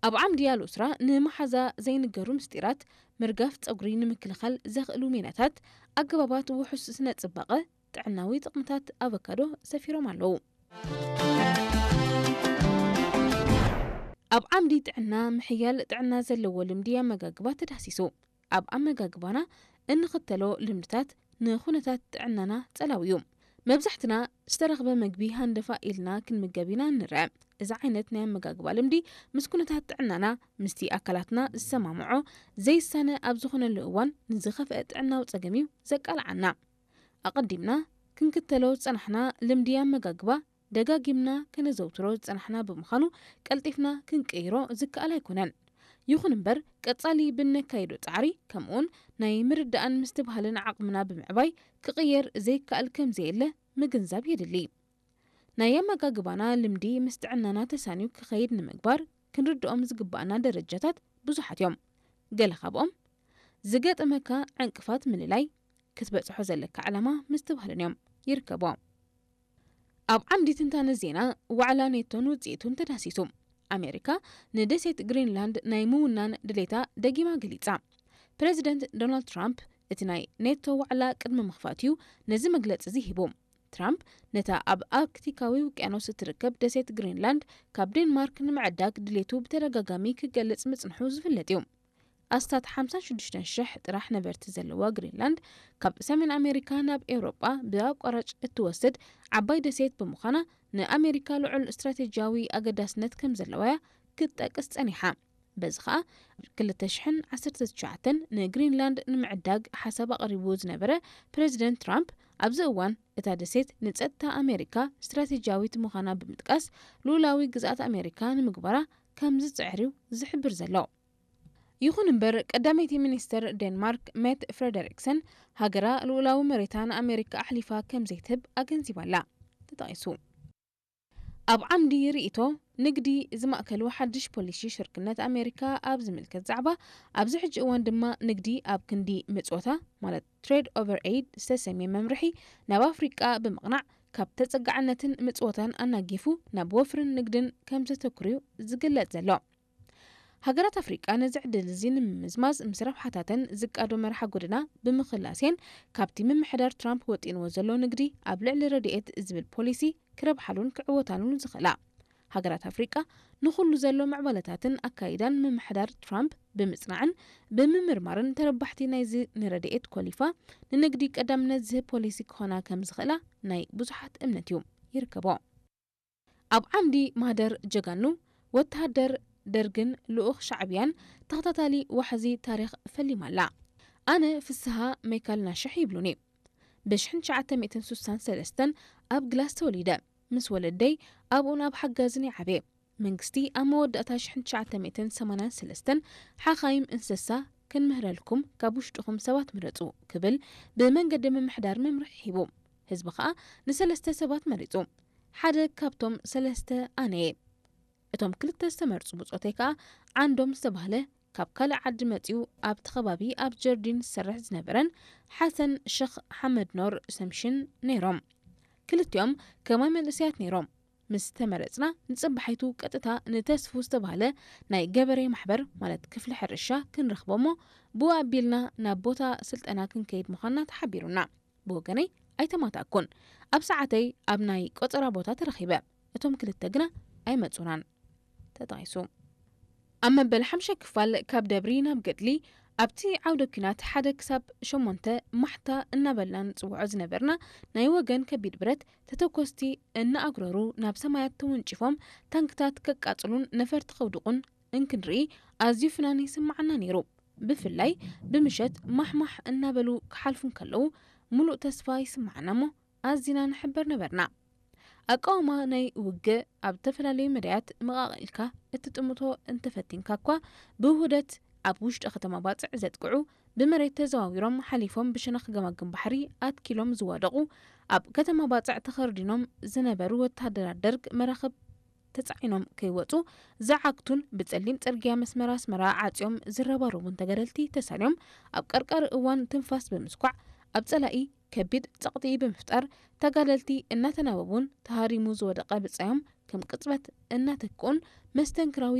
ኣብ ዓምዲ ኣልኡስራ ንመሓዛ ዘይንገሩ ምስጢራት፣ ምርጋፍ ጸጉሪ ንምክልኻል ዘኽእሉ ሜላታት፣ ኣገባባት ውሑስ ስነ ጽባቐ፣ ጥዕናዊ ጥቕምታት ኣቮካዶ ሰፊሮም ኣለዉ። ኣብ ዓምዲ ጥዕና ምሕያል ጥዕና ዘለዎ ልምዲ ኣመጋግባ ተዳህሲሱ። ኣብ ኣመጋግባና እንኽተሎ ልምድታት ንኹነታት ጥዕናና ጸላዊ እዩ። መብዛሕትና ዝተረኽበ መግቢ ሃንደፋ ኢልና ክንምገብ ኢና ንርአ። እዚ ዓይነት ናይ ኣመጋግባ ልምዲ ምስ ኩነታት ጥዕናና፣ ምስቲ ኣካላትና ዝሰማምዖ ዘይሳነ ኣብ ዝኾነሉ እዋን ንዝኸፍአ ጥዕናዊ ጸገም እዩ ዘቃልዓና። ኣቐዲምና ክንክተሎ ዝጸናሕና ልምዲ ኣመጋግባ ደጋጊምና ከነዘውትሮ ዝጸናሕና ብምዃኑ ቀልጢፍና ክንቅይሮ ዝከኣል ኣይኮነን። ይኹን እምበር ቀጻሊ ብነካይዶ ጻዕሪ ከምኡውን ናይ ምርዳእን ምስትብሃልን ዓቕምና ብምዕባይ ክቕየር ዘይከኣል ከም ዘየለ ምግንዛብ የድሊ። ናይ ኣመጋግባና ልምዲ ምስ ጥዕናና ተሳንዩ ክኸይድ ንምግባር ክንርድኦም ዝግባኣና ደረጃታት ብዙሓት እዮም። ገለ ካብኦም ዝገጠመካ ዕንቅፋት ምልላይ፣ ክትበጽሖ ዘለካ ዕላማ ምስትብሃልን እዮም። ይርከቦ። ኣብ ዓምዲ ትንታነ ዜና ዋዕላ ኔቶን ውጽኢቱን ተዳሲሱ። ኣሜሪካ ንደሴት ግሪንላንድ ናይ ምውናን ድሌታ ደጊማ ገሊጻ። ፕረዚደንት ዶናልድ ትራምፕ እቲ ናይ ኔቶ ዋዕላ ቅድሚ ምኽፋት እዩ ነዚ መግለጺ እዚ ሂቡ። ትራምፕ ነታ ኣብ ኣርክቲካዊ ውቅያኖስ እትርከብ ደሴት ግሪንላንድ ካብ ዴንማርክ ንምዕዳግ ድሌቱ ብተደጋጋሚ ክገልጽ ምጽንሑ ዝፍለጥ እዩ። ኣስታት ሓምሳን ሽዱሽተን ሽሕ ጥራሕ ነበርቲ ዘለዋ ግሪንላንድ፣ ካብ ሰሜን ኣሜሪካ ናብ ኤውሮጳ ብኣቋራጭ እትወስድ ዓባይ ደሴት ብምዃና፣ ንኣሜሪካ ልዑል ስትራቴጂያዊ ኣገዳስነት ከም ዘለዋ እያ ክትጠቅስ ጸኒሓ። በዚ ኸኣ፣ ክልተ ሽሕን ዓሰርተ ትሽዓተን ንግሪንላንድ ንምዕዳግ ሓሳብ ኣቕሪቡ ዝነበረ ፕረዚደንት ትራምፕ፣ ኣብዚ እዋን እታ ደሴት ንጸጥታ ኣሜሪካ ስትራቴጂያዊት ምዃና ብምጥቃስ፣ ልኡላዊ ግዝኣት ኣሜሪካ ንምግባራ ከም ዝጽዕር እዩ ዝሕብር ዘሎ። ይኹን እምበር፣ ቀዳመይቲ ሚኒስተር ዴንማርክ ሜት ፍረደሪክሰን፣ ሃገራ ልኡላዊ መሬታ ንኣሜሪካ ኣሕሊፋ ከም ዘይትህብ ኣገንዚባ ኣላ። ተጠቒሱ። ኣብ ዓምዲ ርእይቶ ንግዲ ዝማእከሉ ሓድሽ ፖሊሲ ሽርክነት ኣሜሪካ ኣብ ዝምልከት ዛዕባ፣ ኣብዚ ሕጂ እዋን ድማ ንግዲ ኣብ ክንዲ ምጽወታ፣ ማለት ትሬድ ኦቨር ኤይድ ዝተሰምየ መምርሒ፣ ናብ ኣፍሪቃ ብምቕናዕ፣ ካብ ተጸጋዕነትን ምጽወታን ኣናጊፉ ናብ ወፍርን ንግድን ከም ዘተኩር እዩ ዝግለጽ ዘሎ። ሃገራት ኣፍሪቃ ነዚ ዕድል እዚ ንምምዝማዝ፣ ምስ ረብሓታተን ዝቃዶ መርሓ ጎደና ብምኽላስየን፣ ካብቲ ምምሕዳር ትራምፕ ወጢንዎ ዘሎ ንግዲ ኣብ ልዕሊ ረድኤት ዝብል ፖሊሲ ክረብሓሉን ክዕወታሉን ዝኽእላ። ሃገራት ኣፍሪቃ ንኹሉ ዘሎ ምዕባለታትን ኣካይዳን ምምሕዳር ትራምፕ ብምጽናዕን ብምምርማርን፣ ተረባሕቲ ናይዚ ንረድኤት ኮሊፋ ንንግዲ ቀዳምነት ዝህብ ፖሊሲ ክኾና ከም ዝኽእላ ናይ ብዙሓት እምነት እዩ። ይርከቦ። ኣብ ዓምዲ ማህደር ጀጋኑ፣ ወተሃደር ደርግን ልኡኽ ሻዕብያን ተኸታታሊ ዋሕዚ ታሪኽ ፈሊማ ኣላ። ኣነ ፍስሃ ሜካል ናሽሕ ይብሉኒ። ብ ሽሕን ትሽዓተ ሚእትን ስሳን ሰለስተን ኣብ ግላስ ተወሊደ። ምስ ወለደይ ኣብኡን ኣብ ሓጋዝን ይዓብየ። መንግስቲ ኣብ መወዳእታ ሽሕን ትሽዓተ ሚእትን ሰማንያን ሰለስተን ሓኻይም እንስሳ ክንምህረልኩም ካብ ውሽጥኹም ሰባት ምረጹ ክብል ብመንገዲ ምምሕዳር መምርሒ ሂቡ። ህዝቢ ኸኣ ንሰለስተ ሰባት መሪጹ። ሓደ ካብቶም ሰለስተ ኣነ እየ። እቶም ክልተ ዝተመርጹ ብጾተይ ከኣ ዓንዶም ዝተባህለ ካብ ካልእ ዓዲ መጺኡ ኣብቲ ከባቢ ኣብ ጀርዲን ዝሰርሕ ዝነበረን ሓሰን ሸኽ ሓመድ ኖር ሰምሽን ነይሮም። ክልቲኦም ከማይ መንእሰያት ነይሮም። ምስ ተመረጽና ንጽባሒቱ ቀጥታ ንተስፉ ዝተባህለ ናይ ገበሬ ማሕበር ማለት ክፍሊ ሕርሻ ክንረኽቦ እሞ ብኡ ኣቢልና ናብ ቦታ ስልጠና ክንከይድ ምዃንና ተሓቢሩና። ብወገነይ ኣይተማታእኩን። ኣብ ሰዓተይ ኣብ ናይ ቆጸራ ቦታ ተረኺበ። እቶም ክልተ ግና ኣይመጹናን። ተጠቒሱ። ኣብ መበል ሓምሻይ ክፋል ካብ ደብሪ ናብ ገድሊ ኣብቲ ዓውደ ኲናት ሓደ ክሳብ ሸሞንተ ማሕታ እናበልና ንጽውዖ ዝነበርና ናይ ወገን ከቢድ ብረት ተተኮስቲ እናኣጉረሩ ናብ ሰማያት ተወንጪፎም ታንክታት ከቃጽሉን ነፈርቲ ከውድቑን እንክንርኢ ኣዝዩ ፍናን ይስምዓና ነይሩ። ብፍላይ ብምሸት ማሕማሕ እናበሉ ክሓልፉ እንከለዉ፣ ሙሉእ ተስፋ ይስምዓና እሞ ኣዚና ንሕበር ነበርና። ኣቃውማ ናይ ውግእ ኣብ ዝተፈላለዩ መዳያት መቓቒልካ እትጥምቶ እንተፈቲንካ እኳ፣ ብውህደት ኣብ ውሽጢ ከተማ ባጽዕ ዘጥቅዑ፣ ብመሬት ተዘዋዊሮም ሓሊፎም ብሸነኽ ገማግም ባሕሪ ኣትኪሎም ዝዋደቑ፣ ኣብ ከተማ ባጽዕ ተኸርዲኖም ዝነበሩ ወተሃደራት ደርግ መራኽብ ተጻዒኖም ከይወጹ ዝዓግቱን ብጸሊም ጽርግያ መስመር ኣስመራ ዓጽዮም ዝረባረቡን ተጋደልቲ ተሳንዮም ኣብ ቀርቀር እዋን ትንፋስ ብምስኳዕ ኣብ ጸላኢ ከቢድ ጸቕጢ ብምፍጣር ተጋደልቲ እናተናበቡን ተሃሪሙ ዝወደቐ ብጻዮም ከም ቅጽበት እናተክኡን መስተንክራዊ